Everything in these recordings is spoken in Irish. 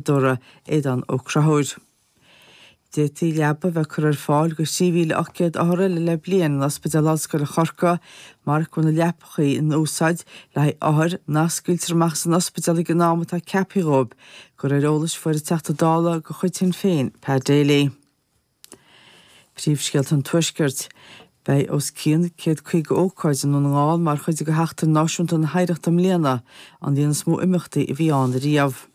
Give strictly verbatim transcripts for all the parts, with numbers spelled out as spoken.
Seachadóra, Aodán Ó Conchúir. D'fhéadfaí leaba a bheith curtha ar fáil do thrí mhíle ocht gcéad othar eile le bliain in Ospidéal Ollscoile Chorcaí marach go bhfuil na leapachaí in úsáid le haghaidh othair nach scaoiltear amach as an ospidéal ag an am atá ceaptha dhóibh, de réir eolais a fuair an Teachta Dála de chuid Shinn Féin, Pat Daly. Príomhscéalta an Tuaiscirt. Beidh os cionn céad caoga ócáid i nDún na nGall mar chuid de Sheachtain Náisiúnta na hOidhreachta i mbliana, an líon is mó imeachtaí a bhí ann riamh.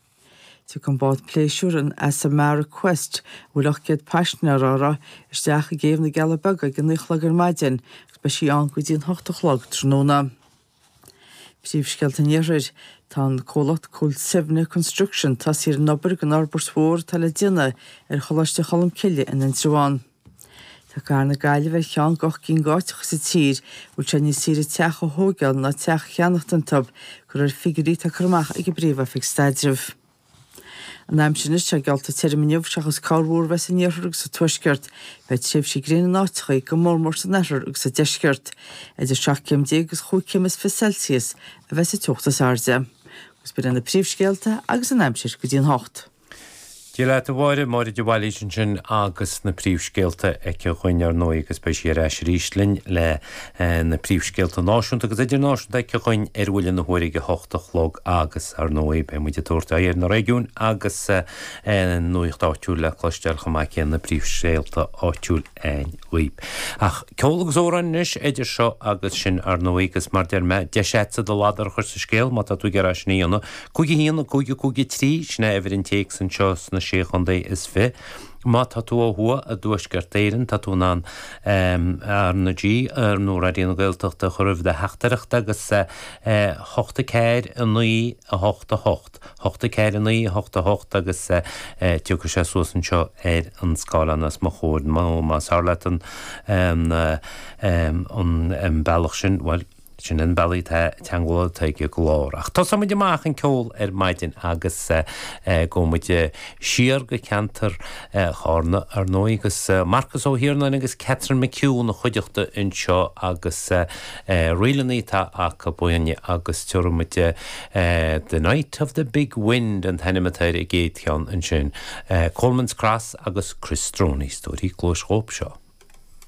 Tiocfaidh an bád pléisiúir an Azamara Quest, a bhfuil ocht gcéad paisinéir uirthi, isteach i gcéibh na gCealla Beaga ag a naoi a chlog ar maidin agus beidh sí ann go dtí an hocht a chlog tráthnóna. Príomhscéalta an Iarthair. Tá an comhlacht Cúil Suibhne Construction tosaithe ar an obair don fhorbairt mhór atá le déanamh ar Choláiste Cholmcille in Indreabhán. Tá cathair na Gaillimhe ar cheann d'ocht gcinn d'áiteacha sa tír a bhfuil sé níos saoire teach a thóigeáil ná teach a cheannacht iontu, de réir figiúirí atá curtha amach ag an bPríomh-Oifig Staidrimh. An aimsir anois, tá geallta tirim inniu seachas corrmhúr a bheith san iarthar agus sa tuaisceart. Beidh tréimhsí gréine in áiteacha, go mórmór san oirthear agus sa deisceart. Idir seacht gcéim déag agus chúig chéim is fiche Celsius a bheas an teocht is airde. Agus b'in iad na príomhscéalta agus an aimsir go dtí an hocht. Dia leat a Mháire, Máire de Bhailís ansin agus na príomhscéalta aici dhúinn ar ndóigh agus beidh sí ar ais arís linn le na príomhscéalta náisiúnta agus idirnáisiúnta aici dhúinn ar bhuille na huaire ag a hocht a chlog agus ar ndóigh beidh muid ag tabhairt aghaidh ar na réigiúin agus nuacht áitiúil le cloisteáil chomh maith céanna príomhscéalta áitiúil againn dhaoibh. Ach ceol agus amhráin anois idir seo agus sin ar ndóigh agus mar deir mé deis agatsa do ladar a chur sa scéal má tá tú ag iarraidh sin a dhéanamh. Cúig a haon, cúig a cúig a trí, sin é uimhir an téacs anseo sna Sé Chontae is Fiche. Má tá tú ó thuaidh i dTuaisceart Éireann, tá tú in ann R na G nó Raidió na Gaeltachta a chur roimh do theachtaireacht agus hocht a ceathair a naoi a hocht a hocht, hocht a ceathair a naoi a hocht a hocht agus tiocfaidh sé suas anseo ar an scáileán os mo chomhair nó más fearr leat an an bealach sin, bhuel, Sin an bealach atá teagmháil atá ag an gclár. Ach tosóidh muid amach an ceol ar maidin agus gabhfaidh muid siar go ceantar Chárna ar ndóigh agus Marcus Ó hIarnáin agus Catherine McHugh ina chuideachta anseo agus ríleanna atá acu againne agus tabharfaidh muid The Night of the Big Wind an t-ainm atá ar an gcéad cheann ansin. Coleman's Cross agus Chris Droney, is tabhair cluas dhóibh seo.